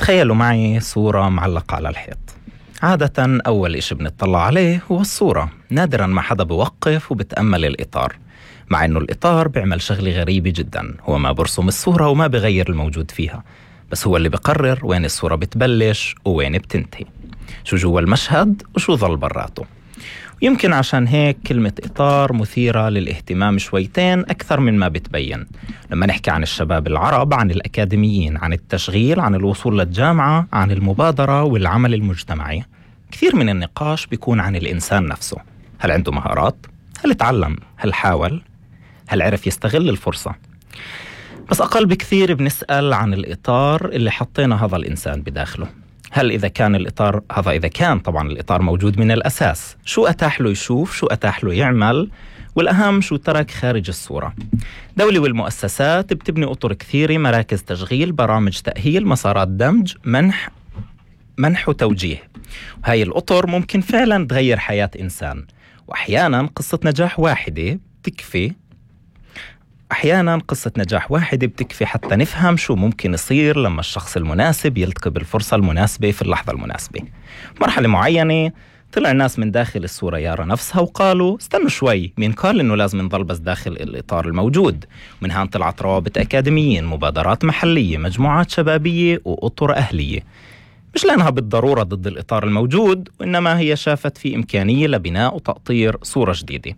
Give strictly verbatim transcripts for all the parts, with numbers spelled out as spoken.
تخيلوا معي صورة معلقة على الحيط. عادة أول إشي بنطلع عليه هو الصورة، نادراً ما حدا بوقف وبتأمل الإطار، مع إنه الإطار بيعمل شغلة غريبة جداً، هو ما برسم الصورة وما بغير الموجود فيها، بس هو اللي بقرر وين الصورة بتبلش ووين بتنتهي، شو جوا المشهد وشو ظل براته. يمكن عشان هيك كلمة إطار مثيرة للاهتمام شويتين أكثر من ما بتبين. لما نحكي عن الشباب العرب، عن الأكاديميين، عن التشغيل، عن الوصول للجامعة، عن المبادرة والعمل المجتمعي، كثير من النقاش بيكون عن الإنسان نفسه. هل عنده مهارات؟ هل اتعلم؟ هل حاول؟ هل عرف يستغل الفرصة؟ بس أقل بكثير بنسأل عن الإطار اللي حطينا هذا الإنسان بداخله. هل إذا كان الإطار هذا إذا كان طبعا الإطار موجود من الأساس، شو أتاح له يشوف، شو أتاح له يعمل، والأهم شو ترك خارج الصورة. دولة والمؤسسات بتبني أطر كثيرة، مراكز تشغيل، برامج تأهيل، مسارات دمج، منح منح وتوجيه. وهي الأطر ممكن فعلا تغير حياة إنسان، وأحيانا قصة نجاح واحدة بتكفي أحياناً قصة نجاح واحدة بتكفي حتى نفهم شو ممكن يصير لما الشخص المناسب يلتقي بالفرصة المناسبة في اللحظة المناسبة. مرحلة معينة طلع ناس من داخل الصورة يارا نفسها وقالوا استنوا شوي، مين قال إنه لازم نضل بس داخل الإطار الموجود؟ ومن هان طلعت روابط أكاديميين، مبادرات محلية، مجموعات شبابية وأطر أهلية، مش لأنها بالضرورة ضد الإطار الموجود، وإنما هي شافت في إمكانية لبناء وتأطير صورة جديدة.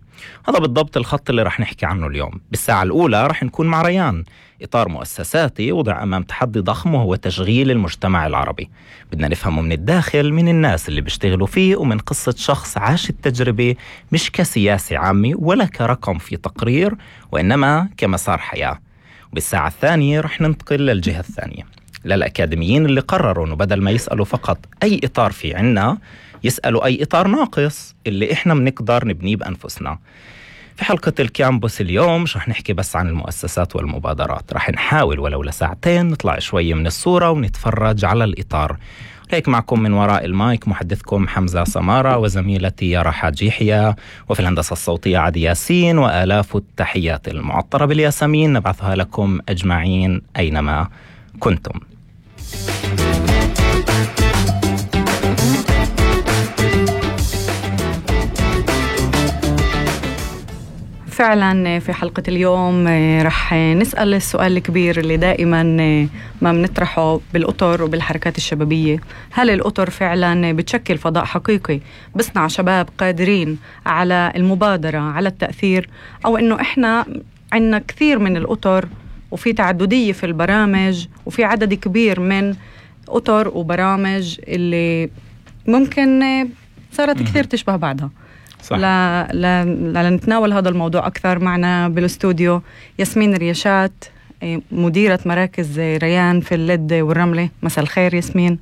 هذا بالضبط الخط اللي رح نحكي عنه اليوم. بالساعة الأولى رح نكون مع ريان، إطار مؤسساتي وضع أمام تحدي ضخم وهو تشغيل المجتمع العربي. بدنا نفهمه من الداخل، من الناس اللي بيشتغلوا فيه، ومن قصة شخص عاش التجربة مش كسياسة عامة ولا كرقم في تقرير، وإنما كمسار حياة. وبالساعة الثانية رح ننتقل للجهة الثانية، للأكاديميين اللي قرروا أنه بدل ما يسألوا فقط أي إطار في عنا، يسألوا أي إطار ناقص اللي إحنا بنقدر نبنيه بأنفسنا. في حلقة الكامبوس اليوم مش رح نحكي بس عن المؤسسات والمبادرات، رح نحاول ولو لساعتين نطلع شوية من الصورة ونتفرج على الإطار. هيك معكم من وراء المايك محدثكم حمزة سمارة، وزميلتي يارا حاج يحيى، وفي الهندسة الصوتية عدي ياسين، وآلاف التحيات المعطرة بالياسمين نبعثها لكم أجمعين أينما كنتم. فعلا في حلقة اليوم رح نسأل السؤال الكبير اللي دائما ما بنطرحه بالأطر وبالحركات الشبابية: هل الأطر فعلا بتشكل فضاء حقيقي بصنع شباب قادرين على المبادرة، على التأثير، أو إنه إحنا عنا كثير من الأطر وفي تعددية في البرامج وفي عدد كبير من أطر وبرامج اللي ممكن صارت كثير تشبه بعضها؟ صح. لا لا لا نتناول هذا الموضوع أكثر، معنا بالاستوديو ياسمين رياشات، مديرة مراكز ريان في اللد والرملة. مساء الخير ياسمين.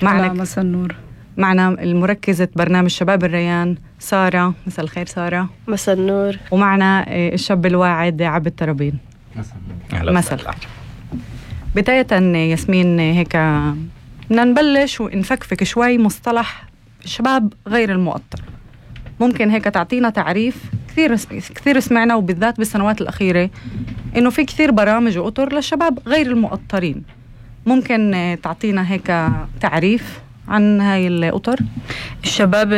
معنا مساء النور. معنا المركزة برنامج شباب الريان سارة. مساء الخير سارة. مساء النور. ومعنا الشاب الواعد عبد الترابين. مساء الخير. بداية ياسمين هيك بدنا نبلش ونفكفك شوي مصطلح الشباب غير المؤطر. ممكن هيك تعطينا تعريف؟ كثير كثير سمعنا وبالذات بالسنوات الأخيرة إنه في كثير برامج وأطر للشباب غير المؤطرين. ممكن تعطينا هيك تعريف عن هاي الأطر؟ الشباب